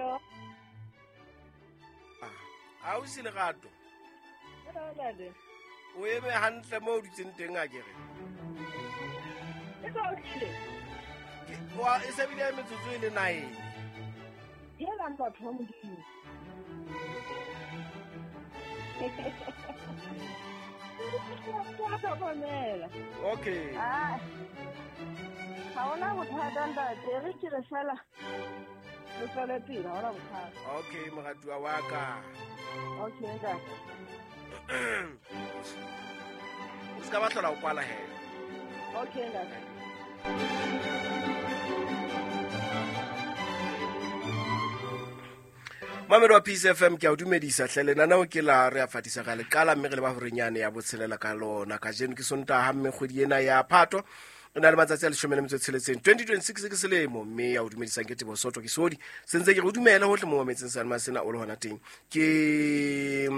Hello. Ausi Lerato. Hello, ntate. O eme hantle mo o dutseng teng a kere. E sa o tlile? E se bile metsotso e le 9. Helang batho ba Modimo. Okay. Ah. Ha hona bothata ntate, re ke re fela. Re tswele pele, ha hona bothata. Okay, moratuwa wa ka. Okay, ntate. O ska ba hlola o kwala he. Okay, ntate. Mamedi wa Peace FM, ke a o dumedisa hle. Lenaneo ke la re a fatisa ka le qala mme re le ba horenyane ya botshelela ka lona. Kajeno ke Sontaha mme kgwedi ena ya Phato e na le matsatsi a 16, 2026 ke selemo, mme ya o dumedisang ke Teboho Soto ke Sodi. Se ntse ke re o dumele hohle mo mametseng sa lema sena o le hona teng. Ke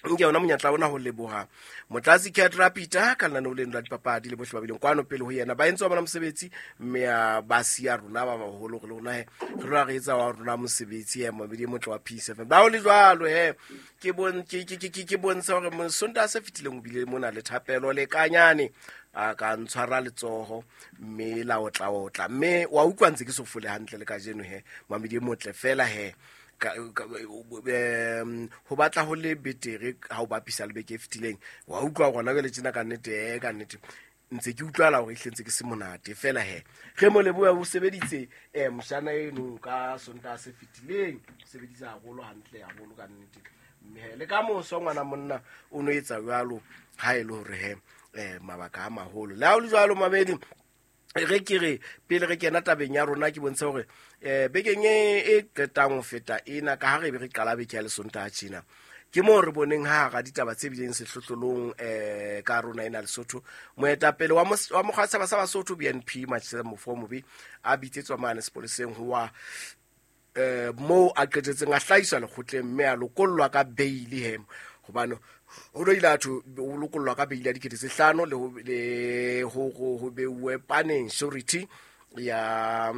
nke yona monyetla ona ho leboha Motlatsi Cat Rapita ka lenaneo leno la dipapadi le bohle ba bileng kwano pele ho yena. Ba entse wa bona mosebetsi mme a ba siya rona ba baholo re le rona he re lwa re etsa wa rona mosebetsi he mamedi e motle wa Peace FM. Ba ho le jwalo he ke bon ke ke ke ke bontsha hore Sontaha se fetileng o bile mona le thapelo le kanyane a ka ntshwara letsoho mme la otla otla mme wa utlwa ntse ke so fole hantle le kajeno he mamedi e motle fela he ho batla ho le betere ha o bapisa le beke e fetileng. Wa utlwa gona jwale tjena ka nnete, ka nnete ntse ke utlwala hore ehlile ntse ke se monate fela he. Re mo leboha o sebeditse moshana eno ka Sontaha se fetileng, o sebeditse haholo hantle haholo ka nnete. Mme he le ka moso ngwana monna o no etsa jwalo ha e le hore he mabaka a maholo. Le ha ho le jwalo mamedi, re ke re pele re kena tabeng ya rona ke bontshe hore bekeng e qetang ho feta ena ka ha re be re qala beke ya Lesontaha tjena, ke moo re boneng ha hara ditaba tse bileng sehlohlolong ka rona ena Lesotho, moetapele wa mokgwa wa setjhaba sa Basotho BNP Matshela Mofomobe a bitsetswa mane sepoleseng ho wa moo a qetetseng a hlahiswa lekgotleng mme a lokollwa ka bail he, hobane ho no ile a thwe o lokollwa ka bail ya 5,000 le ho beuwe paneng surety ya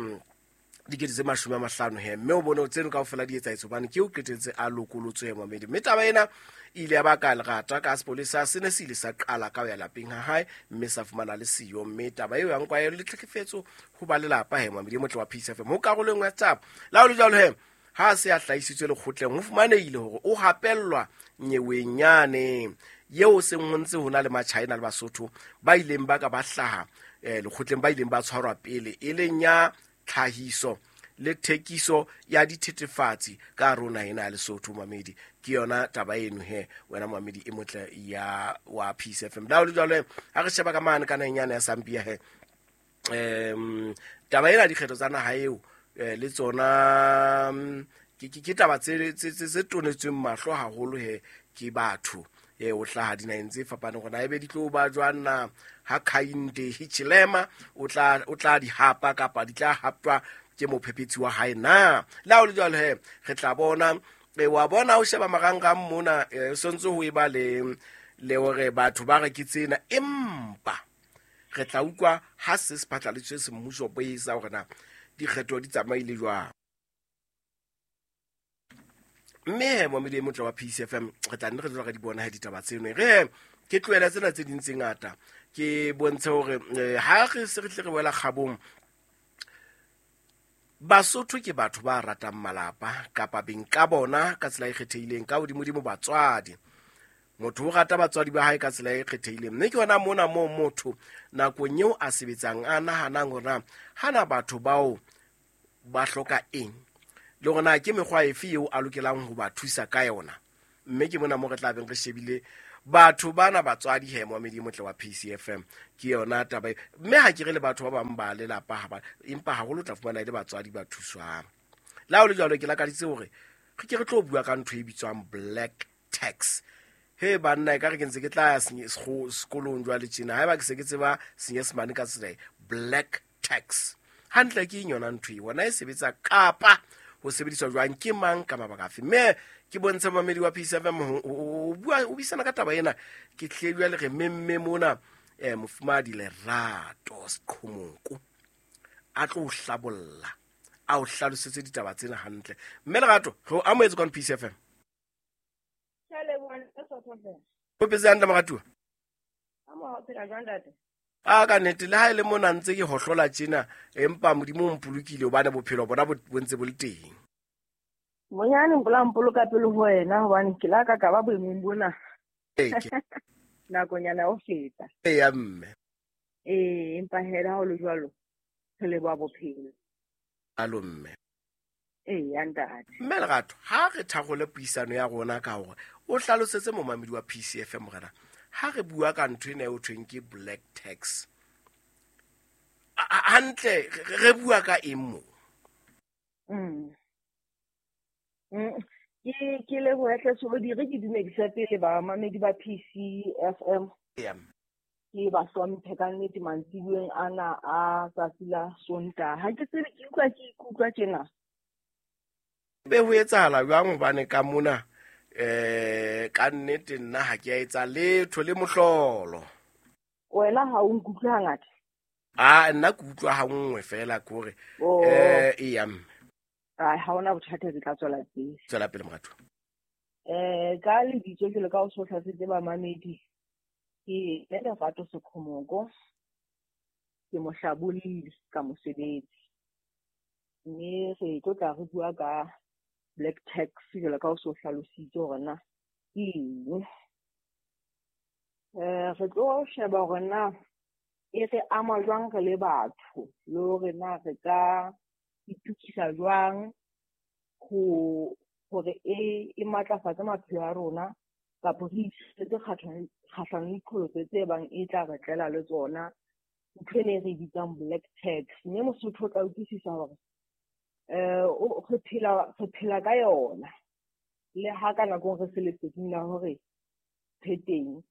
50,000 he, mme o bone tseno kaofela di etsahetse hobane ke o qetetse a lokolotswe he mamedi. Mme taba ena e ile ya baka lerata ka sepolesa se ne se ile sa qala ka ho ya lapeng ha hae mme sa fumana le siyo, mme taba eo ya nkwa ya le tlhekefetso ho ba lelapa he mamedi e motle wa Peace FM ho karolo e nngwe ya taba. Le ha ho le jwalo he, ha se a hlahisitswe lekgotleng ho fumanehile hore o hapellwa nyeweng yane eo seng ho ntse ho na le Machina le Basotho ba ileng ba ka ba hlaha lekgotleng, ba ileng ba tshwarwa pele e leng ya tlhahiso le thekiso ya dithethefatsi ka rona ena ya Lesotho mamedi. Ke yona taba eno he wena mamedi e motle ya wa Peace FM. Le ha ho le jwalo ha re sheba ka mane ka naheng yane ya Zambia he, taba ena dikgetho tsa naha eo le tsona ke taba tse tonetsweng mahlo haholo he ke batho o hlaha dinaheng tse fapaneng hore na ebe di tlo ba jwang na ha Hakainde Hichilema o tla di hapa kapa di tla haptwa ke mophephetsi wa hae na. Le ha ho le jwalo he re tla bona wa bona o sheba marangrang mona sontse ho eba le hore batho ba re ke tsena, empa re tla utlwa ha se se phatlaladitswe semmuso boesa hore na dikgetho di tsamaile jwang. Mme he momedi e motle wa Peace FM re tla nne re tloha re di bona he ditaba tseno. Re ke tlohela tsena tse ding tse ngata ke bontshe hore ha re se re tle re wela kgabong, Basotho ke batho ba ratang malapa kapa beng ka bona ka tsela e kgethehileng, ka hodimodimo batswadi. Motho o rata batswadi ba hae ka tsela e kgethehileng, mme ke hona mona moo motho nakong eo a sebetsang a nahanang hore na hana batho bao ba hloka eng le hore na ke mekgwa efe eo a lokelang ho ba thusa ka yona. Mme ke mona moo re tla beng re shebile batho bana batswadi he momedi motle wa Peace FM. Ke yona taba e. Mme ha ke re le batho ba bang ba lelapa ha ba, empa haholo tla fumana e le batswadi ba thuswang. Le ha ho le jwalo ke lakaditse hore re ke re tlo bua ka ntho e bitswang black tax. He banna e ka re ke ntse ke tla ya sekolong jwale tjena, haeba ke se ke tseba Senyesemane ka tsela e, black tax. Hantle ke eng yona ntho e? Wona e sebetsa kapa ho sebediswa jwang, ke mang ka mabaka afe? Mme ke bontshe mamedi wa Peace FM ho bua, ho buisana ka taba ena. Ke tle jwale re memme mona mofumahadi Lerato Seqhomoko a tlo hlabolla, a o hlalosetse ditaba tsena hantle. Mme Lerato, re o amohetse kwano PCFM. Ke a leboha ntate Sotho. O phetse hantle moratuwa? Ka mo ha o phela jwang ntate? A ka nnete le ha e le mona ntse ke hohlola tjena, empa Modimo o mpolokile hobane bophelo bona bo ntse bo le teng. Monyane mpola mpoloka pele ho wena hobane ke la ka ka ba boemong bona. Ee, ke Nakonyana ya ho feta. Eya mme. Ee, empa hela ha ho le jwalo, re leboha bophelo. Alo mme. Eya ntate. Mme Lerato, ha re tharole puisano ya rona ka hore o hlalosetse momamedi wa PCFM morena, ha re bua ka ntho ena eo thweng ke black tax. Hantle re bua ka eng mo? Ke lebohe hle Solodi, re ke dumedise pele bamamedi ba PCFM. Eya. Ke ba hlomphe ka nnete mantsibueng ana a tsatsi la Sontaha. Ha ke tsebe, ke utlwa ke ikutlwa tjena. Be ho etsahala jwang hobane ka mona, ka nnete nna ha ke a etsa letho le mohlolo. Wena ha o nkutlwe hangata? A, nna ke utlwa ha nngwe fela ke hore, Oh. Eya mme. Ai, ha hona bothata, ke tla tswela pele. Tswela pele moratuwa. Ka lebitso jwalo ka o so hlalosetse bamamedi, ke Mme Lerato Sekhomoko, ke mohlabolli ka mosebetsi. Mme re tlo tla re bua ka black tax jwalo ka o so hlalositse hore na ke eng. Re tlo sheba hore na e re ama jwang re le batho, le hore na re ka itokisa jwang hore e matlafatse maphelo a rona, kapa re itshireletse kgahlano le diqholotso tse bang e tla re tlela le tsona, ntho ena e re bitsang black tax. Mme Mosotho o tla utlwisisa hore, re phela ka yona, le ha ka nako re se leseding la hore pheteng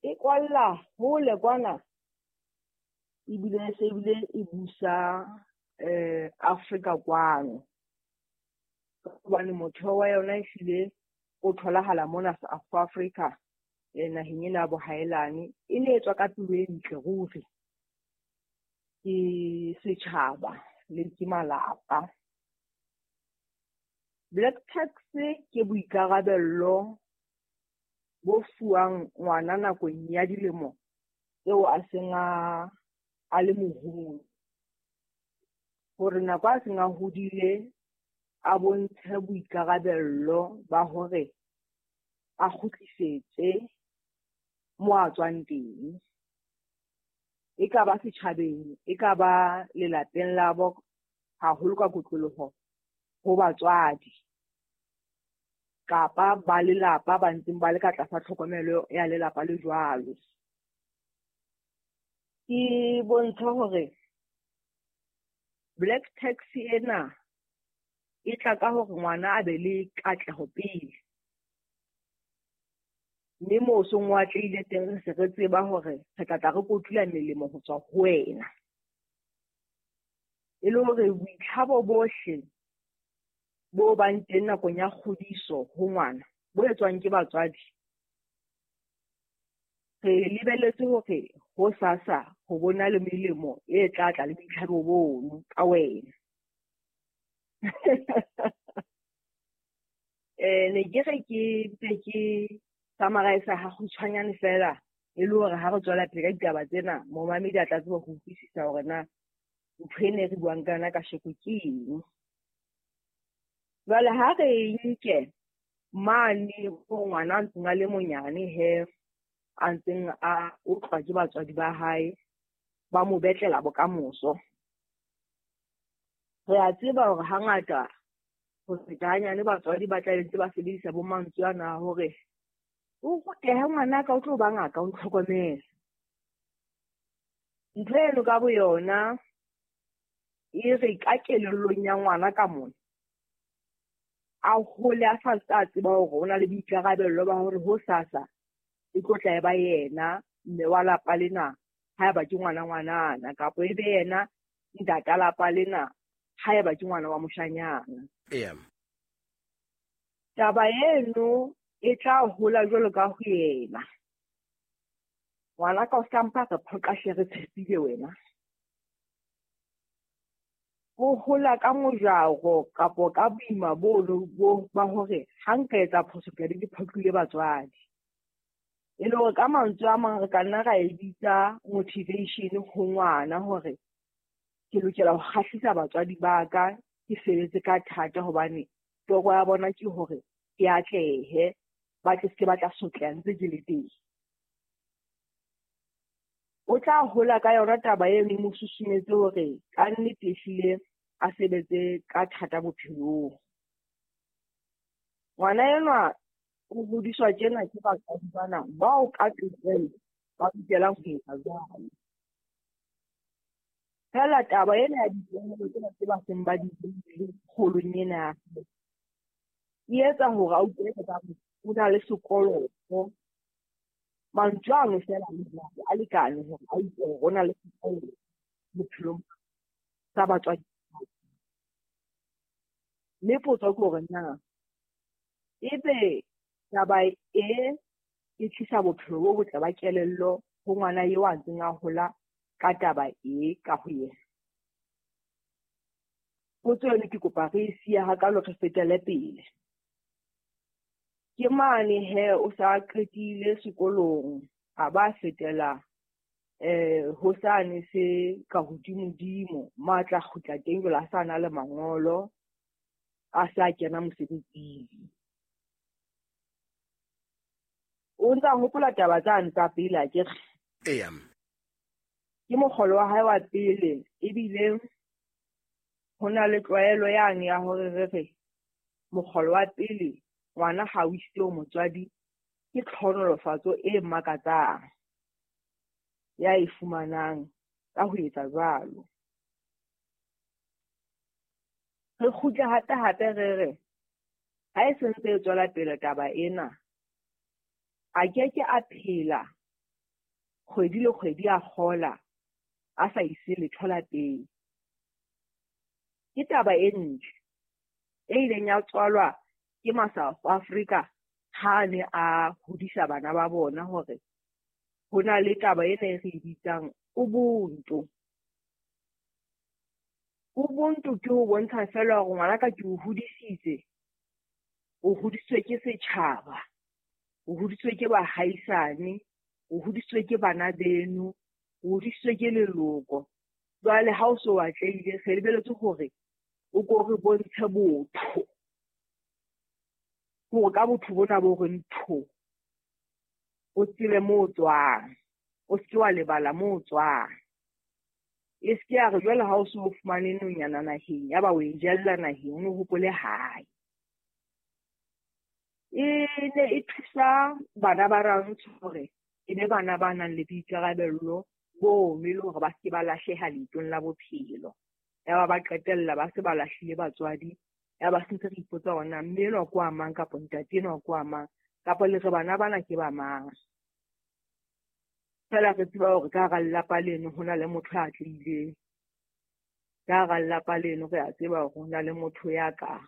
e kwalla hole kwana, ebile se ebile e busa, Afrika kwano. Hobane motheo wa yona ehlile o tholahala mona South Africa, naheng ena ya bohaelane. E ne e tswa ka pelo e ntle ruri ke setjhaba le ke malapa. Black tax ke boikarabello bo fuwang ngwana nakong ya dilemo tseo a seng a le moholo, hore nako a seng a hodile a bontshe boikarabello ba hore a kgutlisetse mo a tswang teng. E ka ba setjhabeng, e ka ba lelapeng la bo, haholo ka kotloloho ho batswadi kapa ba lelapa ba ntseng ba le ka tlasa tlhokomelo ya lelapa le jwalo. Ke bontsha hore black tax ena e tla ka hore ngwana a be le katleho pele, mme moo seng o atlehile teng re se re tseba hore re tla tla re kotula melemo ho tswa ho wena. E le hore boitlhabo bohle bo bang teng nakong ya kgodiso ho ngwana bo etswang ke batswadi, re lebelletse hore ho sasa ho bona le melemo e tla tla le boitlhabo bono ka wena. Ne ke re ke mpe ke summarize ha kgutshwanyane fela, e le hore ha re tswela pele ka ditaba tsena, momamedi a tla tseba ho utlwisisa hore na ntho ena e re buang ka yona kasheko ke eng. Jwale ha re nke mane ho ngwana a ntseng a le monyane he, a ntseng a otlwa ke batswadi ba hae, ba mo betlela bokamoso. Re a tseba hore hangata ho feta hanyane batswadi ba tla ntse ba sebedisa bo mantswe ana hore o rutehe ngwanaka, o tlo ba ngaka, o ntlhokomele. Ntho eno ka boyona e re ka kelellong ya ngwana ka mona, a hole a sa ntse a tseba hore o na le boikarabello ba hore hosasa e tlo tla e ba yena mme wa lapa lena haeba ke ngwana ngwanana, kapa e be yena ntata lapa lena haeba ke ngwana wa moshanyana. Eya. Taba eno e tla hola jwalo ka ho yena. Ngwana ka o ska mpa re phoqa hle, re tshepile wena. O hola ka mojaro kapo ka boima bo ba hore ha nka etsa phoso ke be ke phoqile batswadi. E le hore ka mantswe a mang re ka nna ra e bitsa motivation ho ngwana hore ke lokela ho kgahlisa batswadi ba ka, ke sebetse ka thata hobane toro ya bona ke hore ke atlehe, ba tle se ba tla sotleha ntse ke le teng. O tla hola ka yona taba eno e mo susumetse hore ka nnete ehlile a sebetse ka thata bophelong. Ngwana enwa o hodiswa tjena ke batswadi bana bao ka tokelo ba lokelang ho etsa jwalo. Feela taba ena ya ditlwaelo tsena tse ba seng ba di behile kgolong ena ya hae, e etsa hore a utlwe ekare o na le sekoloto. Mantswe ano feela a le jwalo a lekane hore a utlwe hore o na le sekoloto bophelong sa batswadi. Mme potso ke hore na ebe taba e e tlisa bophelo bo botle ba kelello ho ngwana eo a ntseng a hola ka taba e ka ho yena? Potso eno ke kopa re e siye hakalo re fetele pele. Ke mane he o sa qetile sekolong, a ba fetela ho sane se ka hodimodimo, mo a tla kgutla teng jwale a sa na le mangolo, a sa kena mosebetsing. O ntsa hopola taba tsane tsa pele akere? Eya. Ke mokgolo wa hae wa pele, ebile ho na le tlwaelo yane ya hore re re mokgolo wa pele ngwana ha o isitse ho motswadi ke tlhonolofatso e makatsang ya e fumanang ka ho etsa jwalo. Re kgutle hape hape re re ha e sentse e tswela pele taba ena, a keke a phela kgwedi le kgwedi a kgola a sa ise letho lapeng. Ke taba e ntle e ileng ya tswalwa ke ma South Africa ha ne a hodisa bana ba bona hore ho na le taba ena e re e bitsang Ubuntu. Ubuntu ke ho bontsha feela hore ngwanaka ke o hodisitse, o hodisitswe ke setjhaba, o hodisitswe ke bahaisane, o hodisitswe ke bana beno, o hodisitswe ke leloko. Jwale ha o so atlehile, re lebeletse hore o ko re bontshe botho. Hore ka botho bona bo re ntho, o tsebe moo o tswang, o se ke wa lebala moo o tswang. E se ke ya re jwale ha o so fumane nonyana naheng, ya ba o e jella naheng, o hopole hae. E ne e thusa bana ba rantsho hore e be bana ba nang le boikarabello bo mme le hore ba se ke ba lahleha leetong la bophelo. Ya ba ba qetella ba se ba lahlile batswadi, ya ba se ntse re ipotsa hore na mme enwa ke wa mang kapa ntate enwa ke wa mang, kapa le re bana bana ke ba mang. Feela re tseba hore ka hara lelapa leno ho na le motho ya atlehileng. Ka hara lelapa leno re a tseba hore ho na le motho ya ka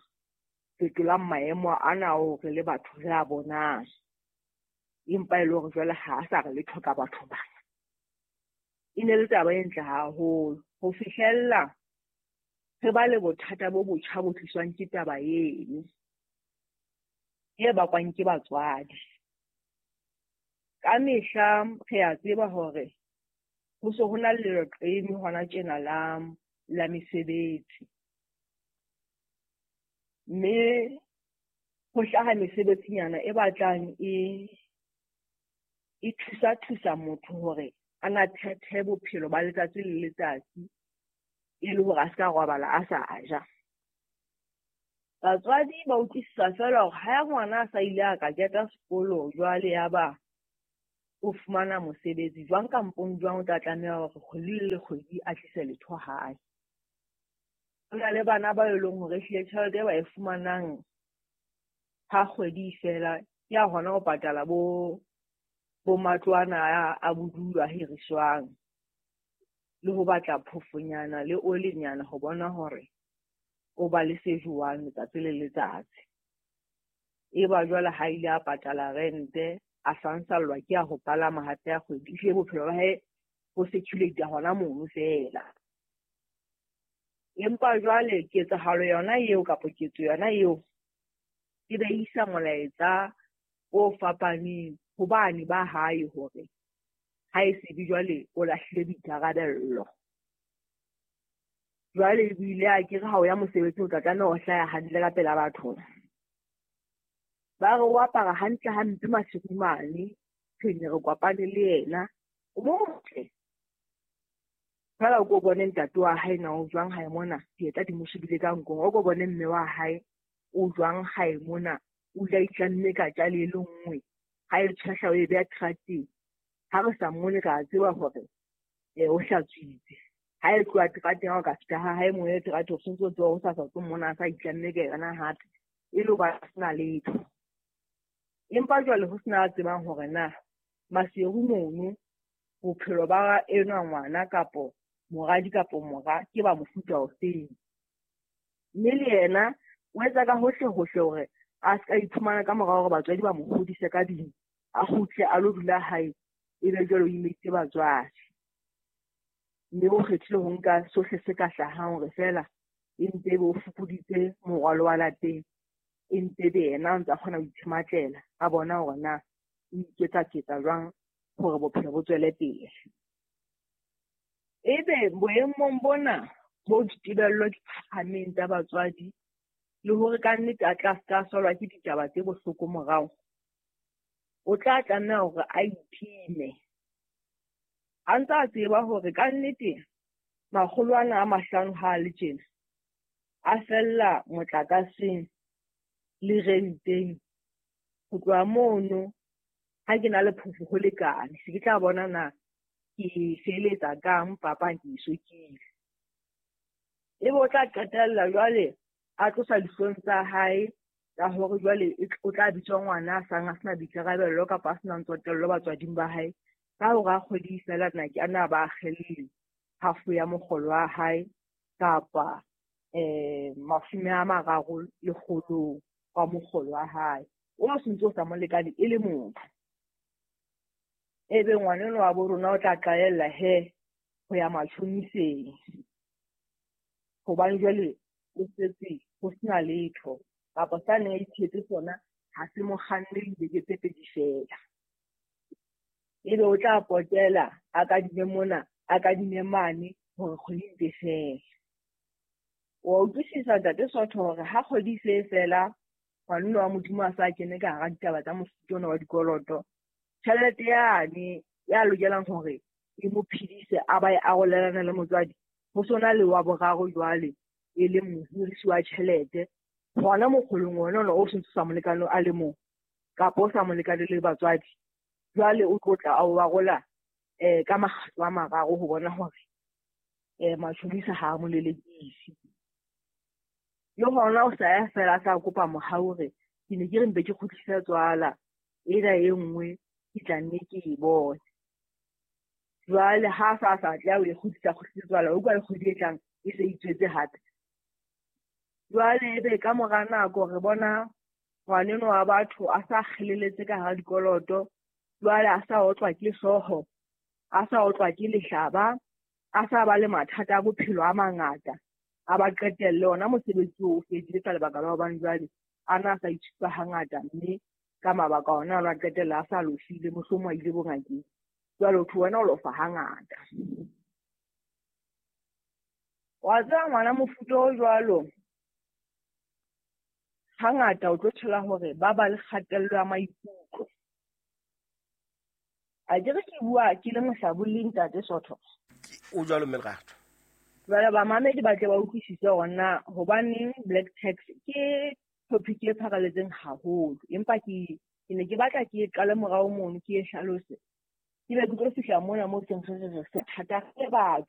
fetolang maemo ana ao re le batho re a bonang. Empa e le hore jwale ha a sa re letho ka batho bana. E ne le taba e ntle haholo ho fihlella re ba le bothata bo botjha bo tliswang ke taba eno e bakwang ke batswadi. Ka mehla re a tseba hore ho se ho na le leqeme hona tjena la mesebetsi. Mme ho hlaha mesebetsinyana e batlang e thusa motho hore a na phethe bophelo ba letsatsi le letsatsi e le hore a se ka robala a sa ja. Batswadi ba utlwisisa feela hore ha ngwana a sa ile a ka keta sekolo jwale ya ba o fumana mosebetsi jwang kampong jwang o tla tlameha hore kgwedi le kgwedi a tlise letho hae. Ho na le bana ba e leng hore ehlile tjhelete e ba e fumanang ha kgwedi e fela ke ya hona ho patala bo matlo ana a bodulo a hiriswang le ho batla phofonyana le olinyana ho bona hore o ba le se jowang letsatsi le letsatsi. E ba jwale ha ile a patala rente, a sansallwa ke a ho palama hape ya kgwedi, ehlile bophelo ba hae bo circulate hona mono feela. Empa jwale ketsahalo yona eo kapa ketso yona eo e be isa molaetsa o fapaneng ho bane ba hae hore ha e se be jwale o lahlile boikarabello. Jwale ebile akere ha o ya mosebetsing o tla tlameha ho hlaha hantle ka pela batho. Ba re o apara hantle hampe masiu mane, re ne re kopane le yena. O motle. Feela o ko bone ntate wa hae na o jwang hae mona, dieta di mo shebile ka nkong. O ko bone mme wa hae o jwang hae mona, o dula a itlamme ka tjale e le nngwe. Ha e tshwehla o e beha terateng. Ha re sa mmone re a tseba hore o hlatswitse. Ha e tloha terateng ha o ka fihla ha hae moo e terateng, o sontso o tseba hosasa o tlo mmona a sa itlamme ka yona hape. E le hoba a sena letho. Empa jwale ho sena a tsebang hore na Maseru mono bophelo ba enwa ngwana kapo moradi kapo mora ke ba mofuta ofeng. Mme le yena o etsa ka hohle hohle hore a ska iphumana ka mora hore batswadi ba mo hodise ka ding, a kgutle a lo dula hae, ebe jwale o imeditse batswadi. Mme o kgethile ho nka sohle se ka hlahang hore feela e mpe ebe o fokoditse morwalo wa lapeng, e mpe ebe yena a ntse a kgona ho itshematlela, a bona hore na o iketsa-ketsa jwang hore bophelo bo tswele pele. Ebe boemong bona bo ditebello di phahameng tsa batswadi le hore ka nnete a tla ska solwa ke ditaba tse bohloko morao, o tla tlameha hore a itime. A ntse a tseba hore ka nnete makgolo ana a 5 ha a le tjena, a fella motlakaseng le renteng. Ho tloha mono ha ke na le phofo ho lekane, se ke tla bona na ke feletsa kang papa ke isokile. Ebe o tla qetella jwale a tlosa dihlong tsa hae tsa hore jwale o tla bitswa ngwana a sang a sena boikarabello kapa a senang tsotello batswading ba hae. Ka hore a kgwedi feela na ke ana ba akgelle half ya mokgolo wa hae kapa 30 lekgolong wa mokgolo wa hae. O sentse o sa mo lekane e le motho. Ebe ngwaneno wa bo rona o tla qalella he ho ya matjhoniseng. Hobane jwale o setse ho sena letho kapa sa neng a ithetse sona ha se mo kganne dibeke tse 2 feela. Ebe o tla potela a kadime mona, a kadime mane hore kgwedi e fele. Wa utlwisisa Ntate Sotho hore ha kgwedi se fela, ngwaneno wa Modimo a sa kene ka hara ditaba tsa mofuta ona wa dikoloto, tjhelete yane ya lokelang hore e mo phedise a ba e arolelana le motswadi, ho sona le wa boraro jwale e leng mohirisi wa tjhelete hona mokgolong ona ona o sentse sa molekane a le mong kapa o sa molekane le batswadi. Jwale o tlo tla a o arola ka makgetlo a mararo ho bona hore matjhonisa ha a mo lelekise. Le hona o sa ya fela a sa kopa mohau hore ke ne ke re mpe ke kgutlise tswala ena e nngwe ke tla nne ke e bone. Jwale ha sa sa tla o e kgutlisa kgutlise tswala, o utlwa le kgwedi e tlang e se itswetse hape. Jwale ebe ka mora nako re bona ngwaneno wa batho a sa kgeleletse ka hara dikoloto, jwale a sa otlwa ke hlooho, a sa otlwa ke lehlaba, a sa ba le mathata a bophelo a mangata, a ba qetelle ona mosebetsi oo o fedile ka lebaka la hobane jwale a na sa itshupa hangata, mme ka mabaka ona a qetella a sa lofile, mohlomong a ile bongakeng. Jwale ho thwe wena o lofa hangata. Wa tseba ngwana mofuta o jwalo hangata o tlo thola hore ba ba le kgatello ya maikutlo. A ke re ke bua ke le mohlabolli Ntate Sotho. O jwalo mme Lerato. Jwale bamamedi ba tle ba utlwisise hore na hobaneng black tax ke topic e pharaletseng haholo, empa ke ne ke batla ke qale morao mono ke e hlalose. Ke be ke tlo fihla mona mo teng re re se thata re batho.